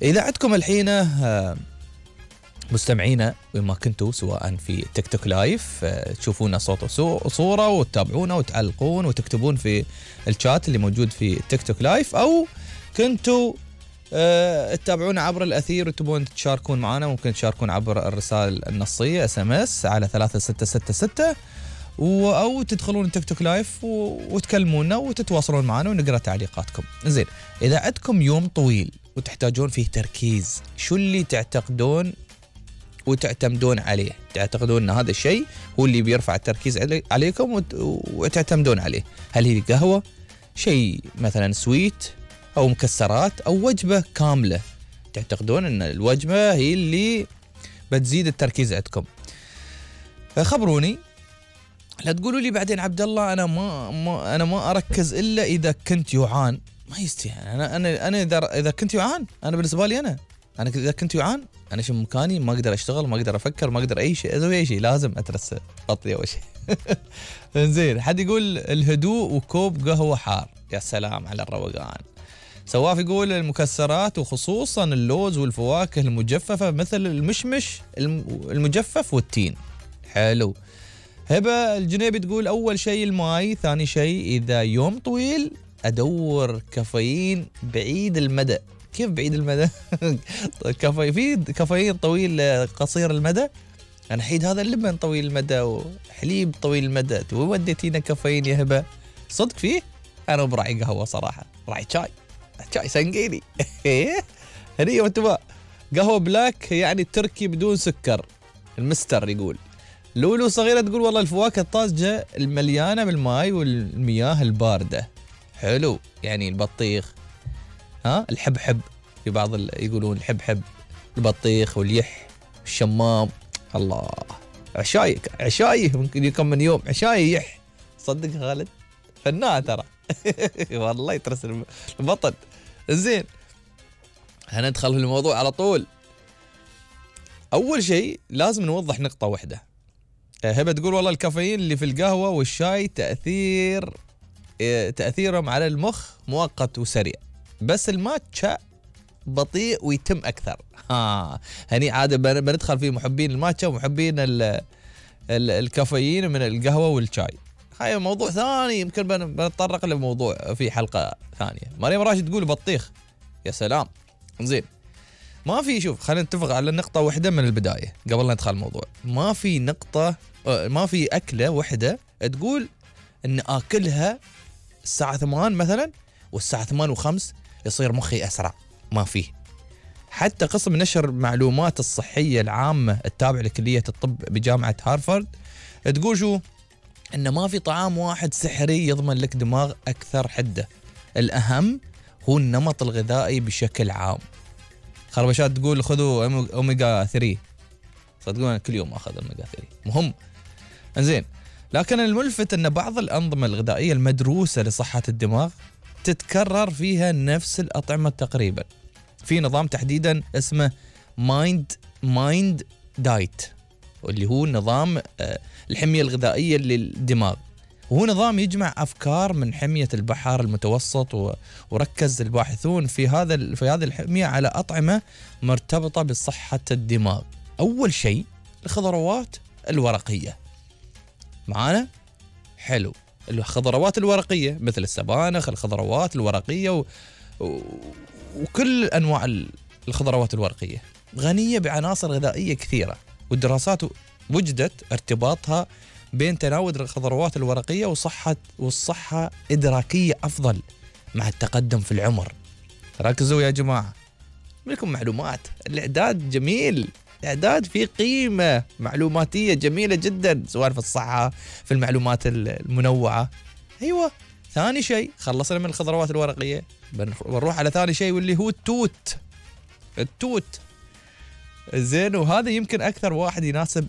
إذا عندكم الحين مستمعينا وين ما كنتوا، سواء في تيك توك لايف تشوفونا صوت وصورة وتتابعونا وتعلقون وتكتبون في الشات اللي موجود في تيك توك لايف، أو كنتوا تتابعونا عبر الأثير وتبون تشاركون معنا، ممكن تشاركون عبر الرسائل النصية SMS على 3666 أو تدخلون تيك توك لايف وتكلمونا وتتواصلون معنا ونقرأ تعليقاتكم. زين، إذا عندكم يوم طويل وتحتاجون فيه تركيز، شو اللي تعتقدون وتعتمدون عليه؟ تعتقدون أن هذا الشيء هو اللي بيرفع التركيز عليكم وتعتمدون عليه؟ هل هي قهوة، شيء مثلا سويت أو مكسرات، أو وجبة كاملة تعتقدون أن الوجبة هي اللي بتزيد التركيز عندكم؟ خبروني، لا تقولوا لي بعدين عبد الله أنا ما أركز إلا إذا كنت جوعان. ما يستاهل. أنا إذا كنت جوعان، أنا بالنسبة لي أنا إذا كنت جوعان، أنا شو مكاني، ما أقدر أشتغل، ما أقدر أفكر، ما أقدر أي شيء أسوي أي شيء، لازم أترس بطني أول شيء. زين، حد يقول الهدوء وكوب قهوة حار، يا سلام على الروقان. سواف يقول المكسرات وخصوصا اللوز والفواكه المجففة مثل المشمش المجفف والتين. حلو. هبة الجنيبي تقول أول شيء الماي، ثاني شيء إذا يوم طويل أدور كافيين بعيد المدى. كيف بعيد المدى؟ في كافيين طويل قصير المدى. أنا حيد هذا اللبن طويل المدى وحليب طويل المدى، وديتينا كافيين يا هبة؟ صدق فيه؟ أنا براعي قهوة صراحة، راعي شاي سنقيني. هنية وانتباه. قهوة بلاك يعني تركي بدون سكر. المستر يقول. لولو صغيرة تقول والله الفواكه الطازجة المليانة بالماء والمياه الباردة. حلو، يعني البطيخ، الحبحب، في بعض يقولون الحبحب، البطيخ واليح الشمام. الله، عشاي ممكن يكون من يوم عشاي يح. صدق خالد فنان ترى. والله يترس البطن. زين، هندخل في الموضوع على طول. أول شيء لازم نوضح نقطة واحدة. هبة تقول والله الكافيين اللي في القهوة والشاي تأثيرهم على المخ مؤقت وسريع، بس الماتشا بطيء ويتم أكثر. هني عادة بندخل في محبين الماتشا ومحبين الكافيين من القهوة والشاي. هاي موضوع ثاني، يمكن بنتطرق لموضوع في حلقة ثانية. مريم راشد تقول بطيخ، يا سلام. زين، ما في، شوف خلينا نتفق على نقطة واحدة من البداية قبل لا ندخل الموضوع. ما في أكلة واحدة تقول إن آكلها الساعة 8 مثلا والساعة 8:05 يصير مخي أسرع. ما فيه. حتى قسم نشر معلومات الصحية العامة التابع لكلية الطب بجامعة هارفارد تقول شو؟ إن ما في طعام واحد سحري يضمن لك دماغ أكثر حدة. الأهم هو النمط الغذائي بشكل عام. خربشات تقول خذوا أوميجا 3. صدقون كل يوم أخذ أوميجا 3 مهم. زين، لكن الملفت أن بعض الأنظمة الغذائية المدروسة لصحة الدماغ تتكرر فيها نفس الأطعمة تقريبا. في نظام تحديدا اسمه مايند دايت، واللي هو نظام الحمية الغذائية للدماغ، وهو نظام يجمع أفكار من حمية البحر المتوسط، وركز الباحثون في هذه الحمية على أطعمة مرتبطة بصحة الدماغ. أول شيء الخضروات الورقية معانا. حلو، الخضروات الورقية مثل السبانخ، الخضروات الورقية وكل أنواع الخضروات الورقية غنية بعناصر غذائية كثيرة، والدراسات وجدت ارتباطها بين تناول الخضروات الورقية والصحة إدراكية أفضل مع التقدم في العمر. ركزوا يا جماعة، لكم معلومات، الإعداد جميل، إعداد فيه قيمة معلوماتية جميلة جدا، سواء في الصحة، في المعلومات المنوعة. أيوة. ثاني شيء خلصنا من الخضروات الورقية، بنروح على ثاني شيء واللي هو التوت. زين، وهذا يمكن أكثر واحد يناسب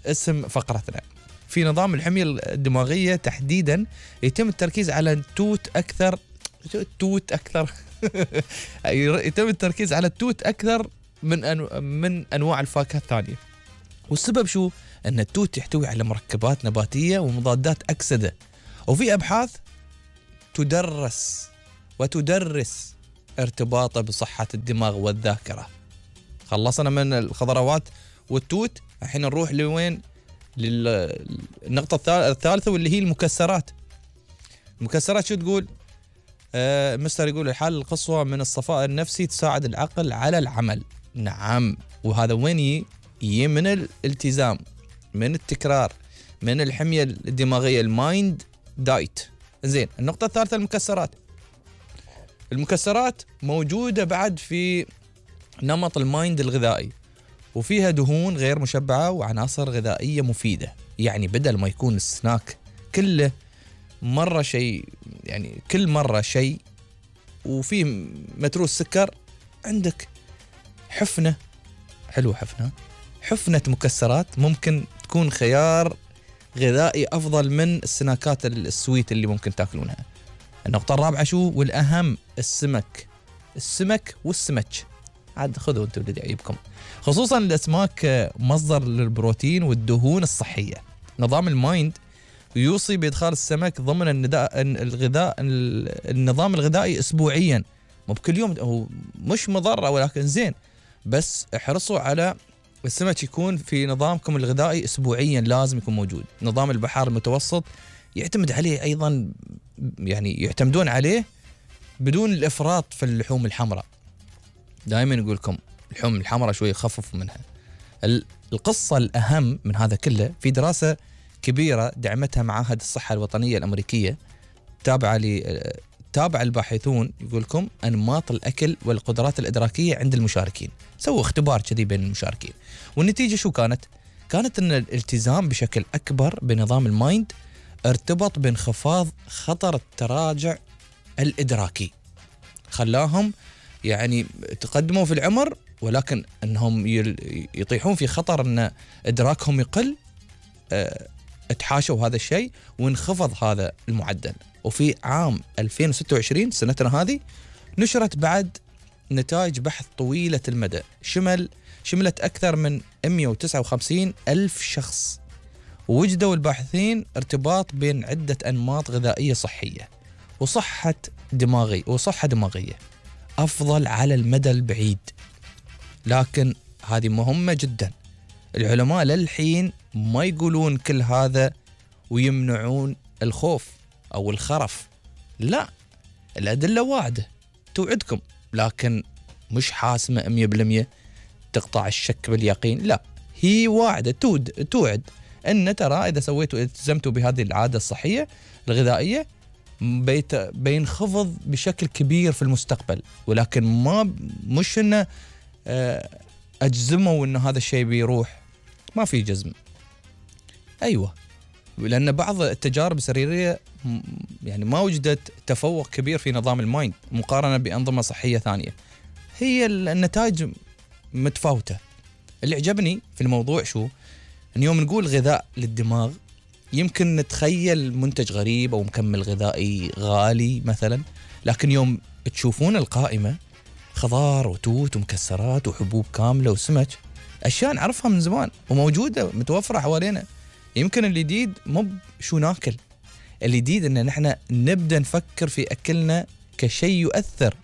اسم فقرتنا. في نظام الحمية الدماغية تحديدا يتم التركيز على التوت أكثر. يتم التركيز على التوت أكثر من أنواع الفاكهة الثانية. والسبب شو؟ أن التوت يحتوي على مركبات نباتية ومضادات أكسدة، وفي أبحاث تدرس ارتباطه بصحة الدماغ والذاكرة. خلصنا من الخضروات والتوت، الحين نروح لوين؟ للنقطة الثالثة واللي هي المكسرات. المكسرات شو تقول؟ مستر يقول الحالة القصوى من الصفاء النفسي، تساعد العقل على العمل. نعم، وهذا وين يجي؟ من الالتزام، من التكرار، من الحمية الدماغية، المايند دايت. زين، النقطة الثالثة المكسرات. المكسرات موجودة بعد في نمط المايند الغذائي، وفيها دهون غير مشبعة وعناصر غذائية مفيدة. يعني بدل ما يكون السناك كله مرة شيء، يعني كل مرة شيء وفيه متروس سكر، عندك حفنة حلوة، حفنة مكسرات ممكن تكون خيار غذائي أفضل من السناكات السويت اللي ممكن تاكلونها. النقطة الرابعة شو والأهم؟ السمك والسمك. عاد خذوا انتم اللي يعيبكم. خصوصا الأسماك مصدر للبروتين والدهون الصحية. نظام المايند يوصي بإدخال السمك ضمن النظام الغذائي أسبوعيا، مو بكل يوم، هو مش مضرة ولكن زين، بس احرصوا على السمك يكون في نظامكم الغذائي أسبوعيا، لازم يكون موجود. نظام البحار المتوسط يعتمد عليه أيضا، يعني يعتمدون عليه بدون الإفراط في اللحوم الحمراء. دائما يقول لكم اللحوم الحمراء شوي خففوا منها. القصة الأهم من هذا كله في دراسة كبيرة دعمتها معاهد الصحة الوطنية الأمريكية، تابع الباحثون يقول لكم أنماط الأكل والقدرات الإدراكية عند المشاركين. سووا اختبار كذي بين المشاركين، والنتيجة شو كانت؟ كانت أن الالتزام بشكل أكبر بنظام المايند ارتبط بانخفاض خطر التراجع الإدراكي، خلاهم يعني تقدموا في العمر ولكن أنهم يطيحون في خطر أن إدراكهم يقل. اتحاشوا هذا الشيء وانخفض هذا المعدل. وفي عام 2026 سنتنا هذه نشرت بعد نتائج بحث طويلة المدى شملت أكثر من 159 ألف شخص، ووجدوا الباحثين ارتباط بين عدة أنماط غذائية صحية وصحة دماغية أفضل على المدى البعيد. لكن هذه مهمة جدا. العلماء للحين ما يقولون كل هذا ويمنعون الخوف أو الخرف، لا، الأدلة واعدة توعدكم، لكن مش حاسمة 100% تقطع الشك باليقين. لا، هي واعدة توعد أن ترى إذا سويتوا التزمتوا بهذه العادة الصحية الغذائية بينخفض بشكل كبير في المستقبل، ولكن مش إنه أجزموا إنه هذا الشيء بيروح. ما في جزم. أيوة، لأن بعض التجارب السريرية يعني ما وجدت تفوق كبير في نظام المايند مقارنة بأنظمة صحية ثانية، هي النتائج متفاوتة. اللي عجبني في الموضوع شو؟ أن يوم نقول غذاء للدماغ يمكن نتخيل منتج غريب أو مكمل غذائي غالي مثلا، لكن يوم تشوفون القائمة خضار وتوت ومكسرات وحبوب كاملة وسمك، أشياء نعرفها من زمان وموجودة متوفرة حوالينا. يمكن الجديد مو شو ناكل، الجديد إن نحن نبدأ نفكر في أكلنا كشيء يؤثر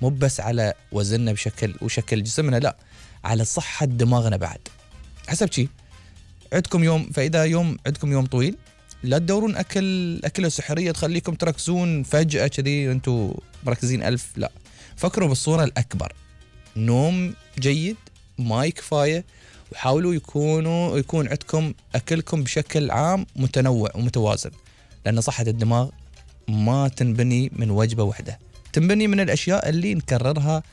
مو بس على وزننا وشكل جسمنا، لا، على صحة دماغنا بعد. حسب شيء عندكم يوم، فإذا عندكم يوم طويل لا تدورون أكلة سحرية تخليكم تركزون فجأة كذي أنتوا مركزين ألف، لا، فكروا بالصورة الأكبر. نوم جيد، ماء كفاية، وحاولوا يكون عندكم أكلكم بشكل عام متنوع ومتوازن، لأن صحة الدماغ ما تنبني من وجبة واحدة، تنبني من الأشياء اللي نكررها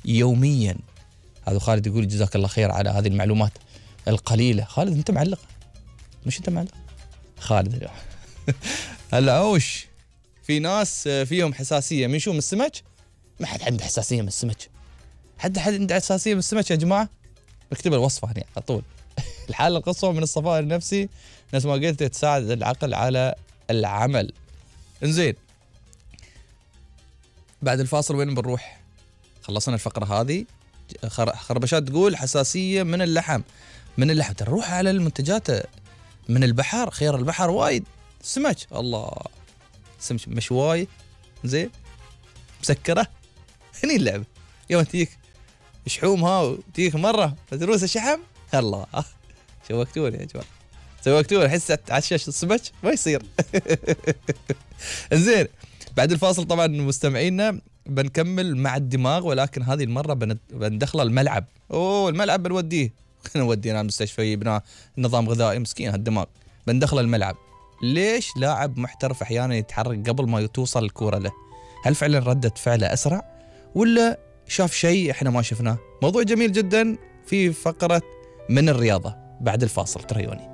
يوميا. هذا خالد يقول جزاك الله خير على هذه المعلومات القليلة. خالد أنت معلق، مش أنت معلق خالد. هلا أوش في ناس فيهم حساسية من شو؟ من السمك؟ ما حد عنده حساسية من السمك. حد عنده حساسية من السمك يا جماعة؟ بكتب الوصفة هنا على طول. الحالة القصوى من الصفاء النفسي، نفس ما قلت، تساعد العقل على العمل. انزين، بعد الفاصل وين بنروح؟ خلصنا الفقرة هذه. خربشات تقول حساسية من اللحم. تروح على المنتجات من البحر، خير البحر وايد. سمك، الله، سمك مشواي زين مسكرة. هني اللعبة. يوم تجيك شحومها وتجيك مرة فتروس الشحم، الله شوقتوني يا جماعة، شوقتوني. أحس على الشاشة الصبح ما يصير. زين، بعد الفاصل طبعا مستمعينا بنكمل مع الدماغ، ولكن هذه المرة بندخل الملعب. الملعب بنوديه نودينا على المستشفى، يبنى نظام غذائي، مسكين هالدماغ. بندخل الملعب. ليش لاعب محترف أحيانا يتحرك قبل ما توصل الكرة له؟ هل فعلا ردة فعله أسرع ولا شاف شيء احنا ما شفناه؟ موضوع جميل جدا في فقرة من الرياضة بعد الفاصل، تريوني.